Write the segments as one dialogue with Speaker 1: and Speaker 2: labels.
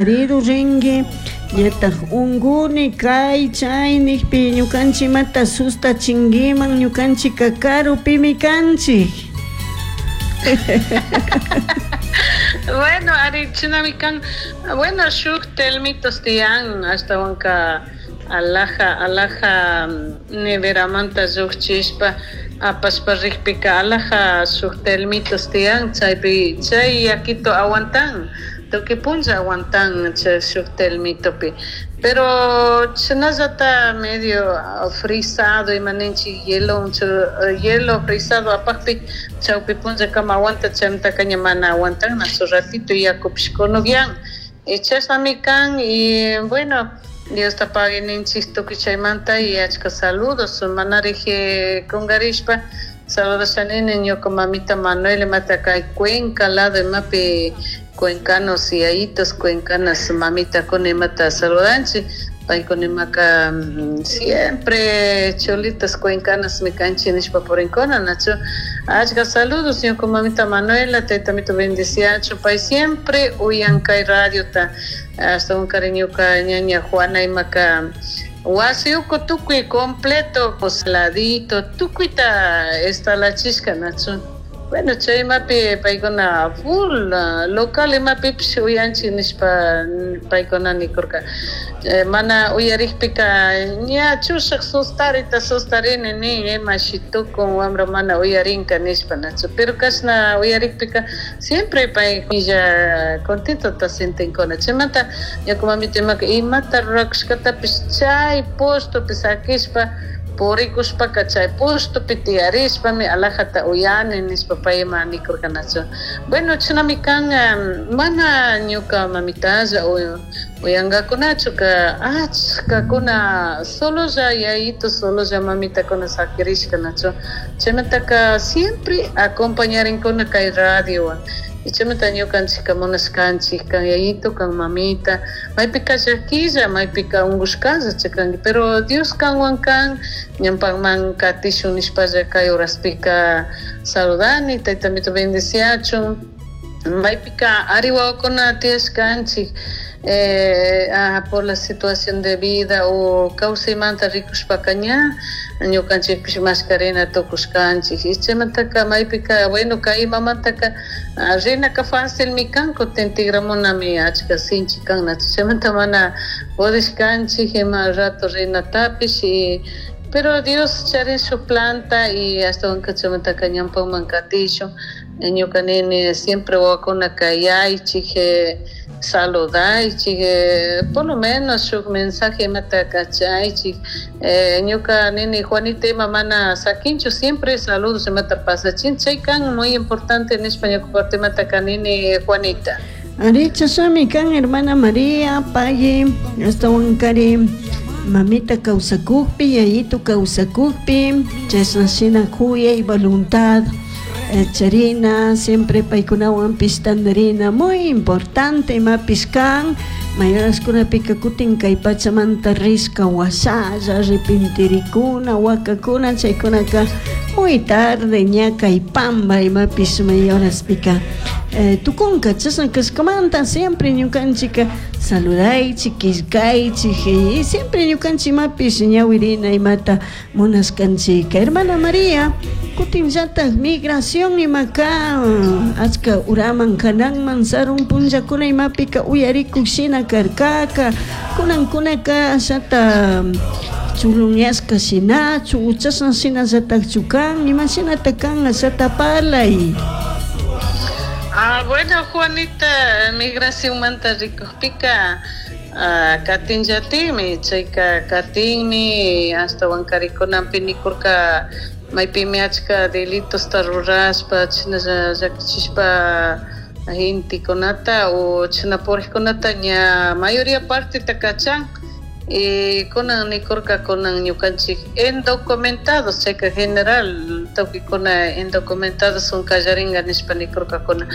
Speaker 1: Marido rinki ñataj unkuni kay chay nikpi ñukanchik imata sustachinkiman, ñukanchikka karupimi kanchik.
Speaker 2: Bueno, ari chinami kan. Bueno, shuk telmitos tiyan ashtawanka alaja alaja neveramanta llukchishpa apashpa rikpika alaja shuk telmitos tiyan chaypi chay yakito aguantan tukuy punlla aguantan chay shuk telmitopi, pero chashnallata medio frisado ima ninchik hielo hielo frisado apakpi chawpi punllakama aguantan chaymantaka ña mana aguantannachu ratito yakupish kunukyan y chashnami kan. Y bueno, Diosta pagui ninchik tukuy chaymanta y achka saludos manarik kungarishpa saludasha nini ñuka mamita Manuel imata kay Cuenca lado imapi cuencanos yayitos cuencanas mamitakuna imata saludanchik paykuna imaka siempre cholitas cuencanas mi kanchik nishpa purinkuna, nachu? Achka saludos ñuka mamita Manuela, taytamito bendiciachun, pay siempre uyan kay radiota. Ashtawankari ñuka ñaña Juana imaka wasi uku tukuy completo ladito tukuyta estalachishka, nachu? Bueno, chay imapi paykuna full local imapipish uyanchik nishpa paykuna nikurka. Mana uyarikpika ña chushak sustarita sustarini nin, imashi tukun wambra mana uyarinka nishpa, nachu? Pero kashna uyarikpika siempre paylla contentota sentinkuna. Chaymanta ñuka mamita imaka imata rurakushkatapish chay pushtupi sakishpa purikushpaka chay pushtupi tiyarishpami alajata uyani nishpa payma nikurka, nachu? Bueno, chashnami kan. Mana ñuka mamitalla uyangakunachu ka, achkakuna sololla yayito sololla mamitakuna sakirishka, nachu? Chaymantaka siempre acompañarinkuna kay radiowan. Y chaymanta ñukanchikka munashkanchik kan yayito kan mamita maypika llakilla maypika unkushkalla chakanki, pero Dios kanwan kan, ñanpakman katishun nishpalla kay horaspika saludani. Taytamito bendiciachun. Maypika ari wawakuna tiyashkanchik por la situación de vida o kawsaymanta rikushpaka ña ñukanchikpish mashkarina tukushkanchik. Y chaymantaka maypika, bueno, kay imamantaka rinaka facilmi kan, kutin tigramunami achka sinchi kan. Chaymanta mana pudishkanchik ima rato rinatapish y pero Dios charin shuk planta y ashtawanka chaymantaka ñanpakman katishun. Ñuka nini siempre wawakuna kayaychik, saludaychik, por lo menos shuk mensaje imata kachaychik. Ñuka nini Juanita ima mana sakinchu, siempre saludos imata pasachin, chay kan muy importante nishpa ñuka partemanta kanini, Juanita.
Speaker 1: Ari, chashnami kan, hermana María, pagui. Ashtawankari mamita kawsakukpi, yayito kawsakukpi, chashna shina kuyay voluntad charina, siempre paykunawanpish tandarina muy importante imapish kan. Mayoraskunapika kutin kay pachamanta rishka washalla arrepentirikuna, wakakuna, chaykunaka muy tarde ña kay pamba imapish mayoraspika tukunka. Chashna kashkamanta siempre ñukanchika saludaychik, killkaychik y siempre ñukanchik imapish ñawirina imata munashkanchika. Hermana María, kutinllatak migración imaka achka uraman kananman sarun punllakuna imapika uyarikuk shina karkaka, kunankunaka ashata chulunyashka shinachu, chashna shinallatakchu kan? Imashinata kan? Ashata parlay.
Speaker 2: Ah, bueno, Juanita, migracionmanta rikukpika katinllatikmi, chayka katinmi. Ashtawankari kunanpi nikurka maypimi achka delitosta rurashpa chashnalla llakichishpa gentekunata o chashna purikkunata ña mayoría parteta kachan. Y kunan nikurka kunan ñukanchik indocumentados, chayka general tukuykuna indocumentados son kallaringa nishpa nikurkakuna.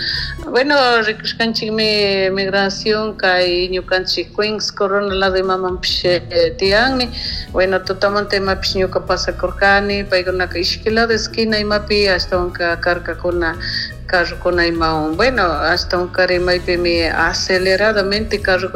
Speaker 2: Bueno, rikushkanchikmi migración kay ñukanchik Queens Corona lado imamanpish tiyanmi. Bueno, tutamanta imapish ñuka pasakurkani, paykunaka ishki lado esquina imapi ashtawanka karkakuna. Carrocuna imawan, bueno, ashtawankari maypimi aceleradamente carrocuna.